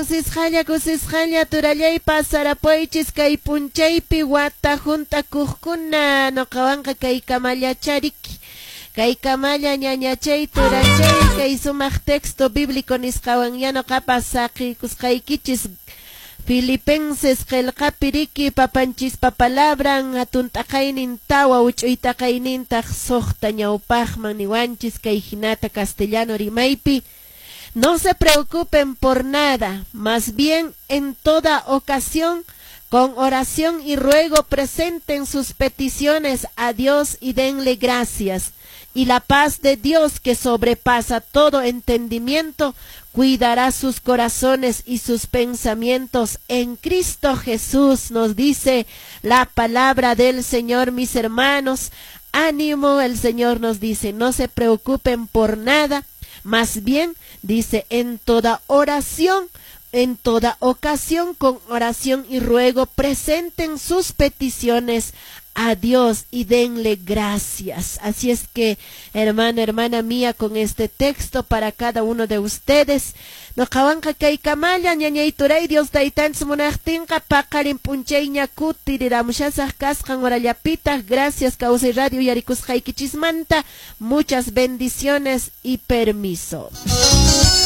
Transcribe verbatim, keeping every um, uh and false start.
Kusisqalla, kusisqalla, turallay pasarapuychis kay p'unchaypi wata hunt'akuqkuna. Nuqawanqa kay kamallachariki. Kay kamalla ñañachay turachay kay sumaq texto bíblico nisqawan ya nuqapas saqiykusqaykichis. Filipenses qillqapi riki papanchispa palabran hatun t'aqaynin tawa huch'uy taqaynintaq suqta ñawpaqman niwanchis kay hinata castellano rimaypi. No se preocupen por nada, más bien en toda ocasión, con oración y ruego presenten sus peticiones a Dios y denle gracias. Y la paz de Dios, que sobrepasa todo entendimiento, cuidará sus corazones y sus pensamientos en Cristo Jesús, nos dice la palabra del Señor, mis hermanos. Ánimo, el Señor nos dice, no se preocupen por nada, más bien, dice, en toda oración, en toda ocasión, con oración y ruego, presenten sus peticiones a Dios y denle gracias. Así es que, hermano, hermana mía, con este texto para cada uno de ustedes, nuqawanqa kay kamalla ñañay turay, Dios taytanchis munaqtinqa paqarin p'unchayña kutiriramushasaq kasqan horallapitaq. Gracias, Kawsay Radio uyarikusqaykichismanta. Muchas bendiciones y permiso.